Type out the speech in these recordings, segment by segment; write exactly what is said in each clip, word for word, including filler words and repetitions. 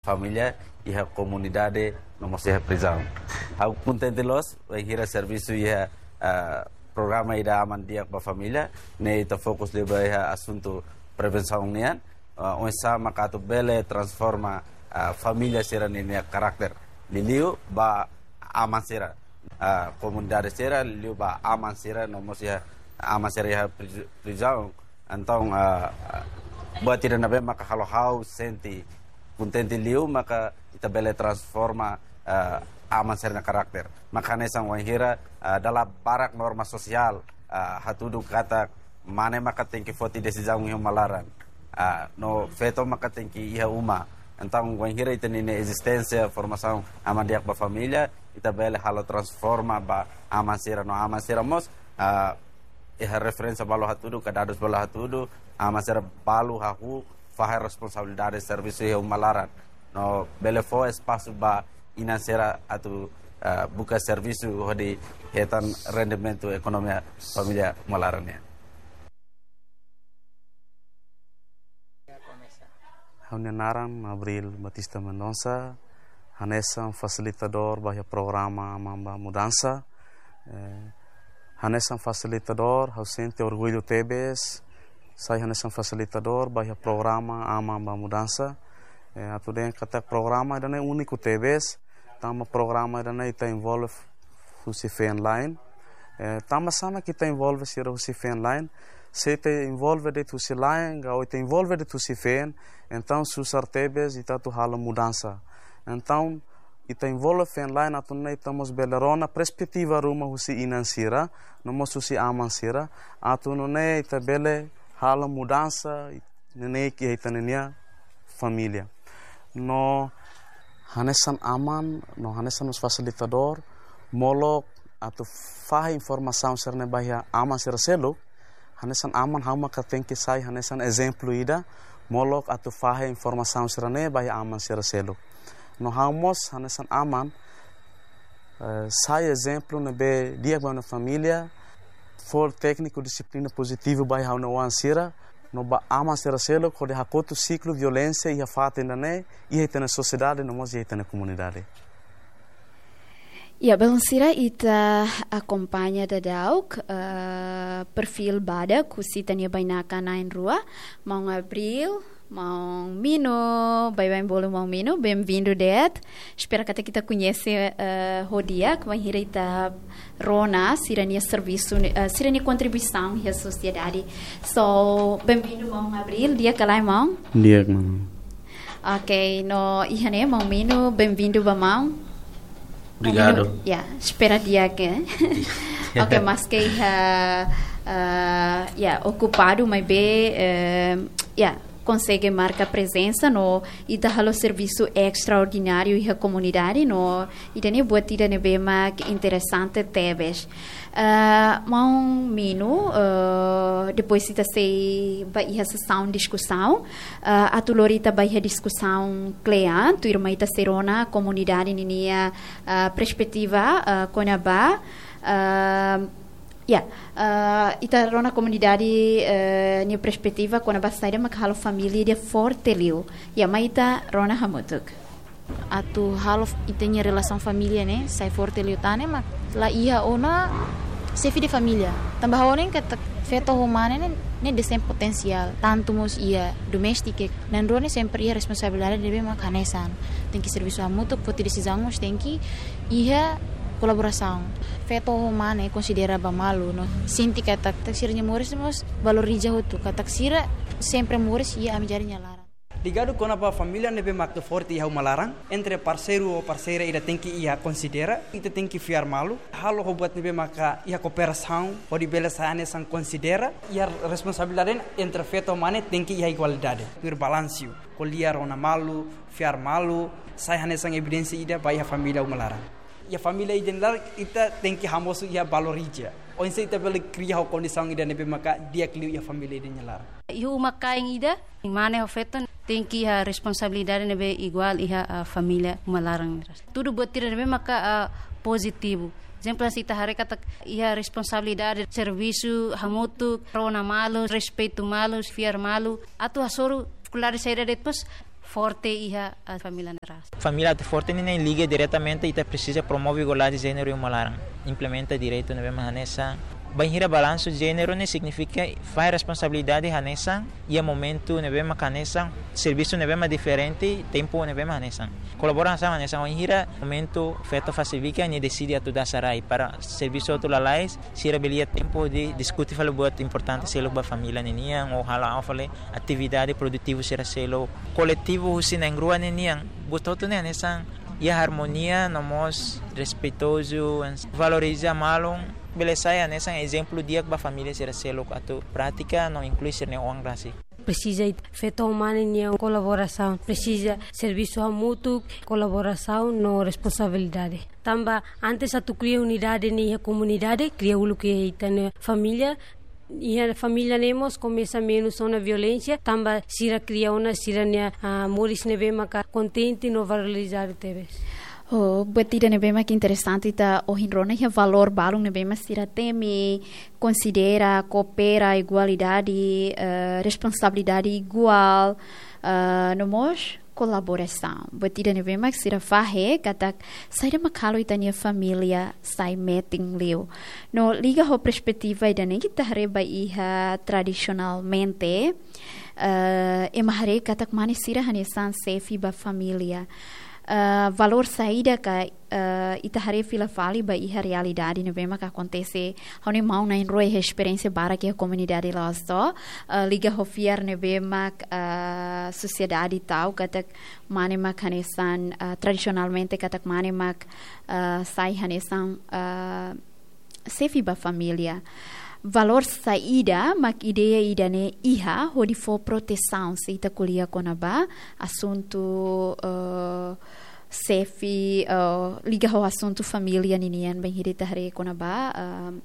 família iha komunidade no mós iha prizaun. Ha'u kontente loos bainhira servisu iha, ah, programa ida Aman Di'ak ba Família, ne'e ita fokus liu ba iha asuntu prevensaun nian, ah, oinsá maka atu bele transforma, ah, família sira-ninia karakter, liuliu ba aman sira, ah, komunidade sira, liuliu ba aman sira no mós iha aman sira iha priz-, prizaun. Entaun, ah, ah, buat ida ne'ebé maka halo ha'u sente kontente liu maka ita bele transforma, ah, aman sira-nia karakter. Maka hanesan wainhira, ah, dala barak norma sosiál, ah, hatudu katak mane maka tenke foti desizaun iha uma laran. Ah, no feto maka tenke iha uma. Entaun, wainhira ita-nia ezisténsia, formasaun Aman Di'ak ba Família, ita bele halo transforma ba aman sira no aman sira mós, ah, iha referénsia balu hatudu, ka dadus balu hatudu, aman sira balu hahú fahe responsabilidade servisu iha uma laran. No bele fó espasu ba inan sira atu, ah, buka servisu hodi hetan rendimentu ekonomia família uma laran nian. Ha'u-nia naran Abril Batista Mendonça, hanesan fasilitadór ba iha programa Aman ba Mudansa. Eh, hanesan fasilitadór, ha'u sente orgullu tebes, sai hanesan fasilitadór ba iha programa Aman ba Mudansa. Eh, atu dehan katak programa ida-ne'e úniku tebes, tanba programa ida-ne'e ita envolve husi feen-la'en. Eh, tanba sá mak ita envolve sira husi feen-la'en? Se ita envolve de'it husi la'en, ka ita envolve de'it husi feen, entaun susar tebes ita atu halo mudansa. Entaun, ita envolve feen-la'en atu nune'e ita mós bele rona perspetiva ruma husi inan sira, no mós husi aman sira, atu nune'e ita bele halo mudansa, neineik iha ita-nia família. No hanesan aman, no hanesan mós fasilitadór, molok atu fahe informasaun sira-ne'e ba iha aman sira seluk, hanesan aman ha'u maka tenke sai hanesan ezemplu ida, molok atu fahe informasaun sira-ne'e ba iha aman sira seluk. No ha'u mós hanesan aman, eh, sai ezemplu ne'ebé di'ak ba ha'u-nia família, fó tékniku dixiplina pozitivu ba iha ha'u-nia oan sira, no ba aman sira seluk, hodi hakotu siklu violénsia iha fatin ida-ne'e, iha ita-nia sosiedade, no mós iha ita-nia komunidade. Ya, belun sira, ita akompaña daudauk, eh, perfíl badak husi ita-nia bainaka na'in-rua, maun Abril, maun Mino, baibain bolu maun Mino, bem-vindo de'it. Espera katak ita koñese, eh, ho di'ak, bainhira ita rona sira-nia servisu, eh, sira-nia kontribuisaun iha sosiedade. So, bem-vindo, maun Abril, di'ak ka lae, maun? Di'ak, maun. Ok, no iha ne'e, maun Mino, bem-vindo ba maun. Obrigado. Maun Mino, ya, espera di'ak, eh. Ok, maske iha, ah, ya, okupadu, maibé, eh, ya, konsege marka prezensa, no ita halo servisu estraordináriu iha komunidade, no ida-ne'e buat ida ne'ebé mak interesante tebes. Ah, maun Mino, ah, depois ita sei ba iha sesaun diskusaun, ah, atu lori ita ba iha diskusaun kle'an, tuirmai ita sei rona komunidade ninia, ah, perspetiva, ah, kona-ba, ah, ya, ah, ita rona komunidade, eh, nia perspetiva kona-ba saida mak halo família ida forte liu. Ya, mai ita rona hamutuk. Atu halo f-, ita-nia relasaun família ne'e sai forte liután ne'e mak la iha ona xefe de família. Tanba ha'u hanoin katak feto ho mane ne'e, ne'e desempenha potensiál, tantu mós iha doméstiku, na'in-rua ne'e sempre iha responsabilidade ne'ebé mak hanesan. Tenke servisu hamutuk, foti desizaun mós tenke iha kolaborasaun. Feto ho mane konsidera ba malu no sente katak, katak sira-nia moris mós valoriza hotu, katak sira sempre moris iha amizade nia laran. Ligadu kona-ba família ne'ebé mak forte iha uma laran, entre parseiru ou parseira ida tenke iha konsidera, ita tenke fiar malu, halo ho buat ne'ebé maka iha kooperasaun, hodi bele sai hanesan konsidera, iha responsabilidade entre feto ho mane tenke iha igualdade. Tuir balansu, ko'alia rona malu, fiar malu, sai hanesan evidénsia ida ba iha família uma laran. Iha família ida-ne'e laran, ita tenke hamosu iha valoriza. Oinsá ita bele kria ho kondisaun ida ne'ebé maka di'ak liu iha família ida-ne'e laran. Iha uma kain ida, mane ho feto tenke iha responsabilidade ne'ebé iguál iha, ah, família uma laran. Tudu buat ida ne'ebé maka, ah, pozitivu. Ezemplu, se ita haree katak iha responsabilidade, servisu hamutuk, rona malu, respeitu malu, fiar malu. Atu hasoru difikuldade saida de'it mós, forte iha, ah, família ne'e ras. Família atu forte ne'e, ne'e liga diretamente, ita presiza promove igualdade jéneru iha uma laran, implementa direitu ne'ebé mak hanesan. Bainhira balansu jéneru ne'e signifika fahe responsabilidade hanesan, iha momentu ne'ebé mak hanesan, servisu ne'ebé mak diferente, tempu ne'ebé mak hanesan. Kolaborasaun hanesan, bainhira momentu feto fase bikan, nia deside atu dasa rai para servisu hotu lalais, sira bele iha tempu hodi diskute fali buat importante seluk ba família ninian, ou halo, ha'u fali atividade produtivu sira seluk. Koletivu husi na'in-rua ninian, buat hotu ne'e hanesan iha armonia, no mós respeitozu, valoriza malu, bele sai hanesan ezemplu di'ak ba família sira seluk atu pratika no inklui sira-nia oan rasik. Presiza it-, feto ho mane nia kolaborasaun, presiza servisu hamutuk, kolaborasaun no responsabilidade. Tanba antes atu kria unidade ne'e iha komunidade, kria uluk iha ita-nia família, iha família ne'e mós komesa menus ona violénsia, tanba sira kria ona sira-nia, ah, moris ne'ebé maka kontente no valorizadu tebes. Oh, buat ida ne'ebé mak interesante ita ohin rona iha valór balun ne'ebé mak sira temi, konsidera, koopera, igualdade, eh, responsabilidade iguál, eh, no mós kolaborasaun. Buat ida ne'ebé mak sira fahe katak saida mak halo ita-nia família sai metin liu. No liga ho perspetiva ida-ne'e ita haree ba iha tradisionalmente, eh, ema haree katak mane sira hanesan xefe ba família. Eh, valór saida ka, eh, ita haree fila fali ba iha realidade ne'ebé mak akontese. Ha'u-nia maun na'in-rua iha esperiénsia barak iha komunidade Loas To'o, eh, liga ho fiar ne'ebé mak, eh, sosiedade tau katak mane mak hanesan, eh, tradisionalmente katak mane mak, eh, sai hanesan, eh, xefe ba família. Valór saida mak ideia ida-ne'e iha hodi fó protesaun se ita ko'alia kona-ba asuntu, eh, xefe, eh, liga ho asuntu família ninian, bainhira ita haree kona-ba, eh,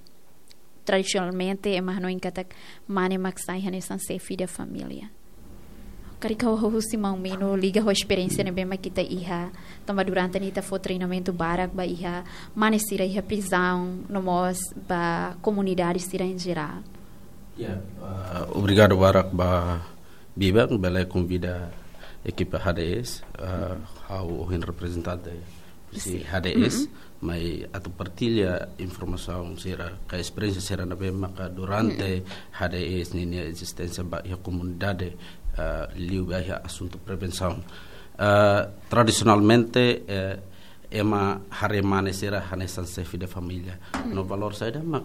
tradisionalmente ema hanoin katak mane mak sai hanesan xefe da família. Karik ha'u husu husi maun Mino liga ho esperiénsia ne'ebé mak ita iha, tanba durante ne'e ita fó treinamentu barak ba iha mane sira iha prizaun, no mós ba komunidade sira em geral. Ya, ah, obrigadu barak ba Biba, bele konvida ekipa H D S, ah, ha'u ohin reprezentante husi Sin. H D S, Mm-mm. mai atu partilla informasaun sira, ka esperiénsia sira ne'ebé maka durante Mm-mm. H D S ninia ezisténsia ba iha komunidade, eh, liu ba iha asuntu prevensaun. Eh, tradisionalmente, eh, ema haree mane sira hanesan xefe de família. Mm. No valór saida mak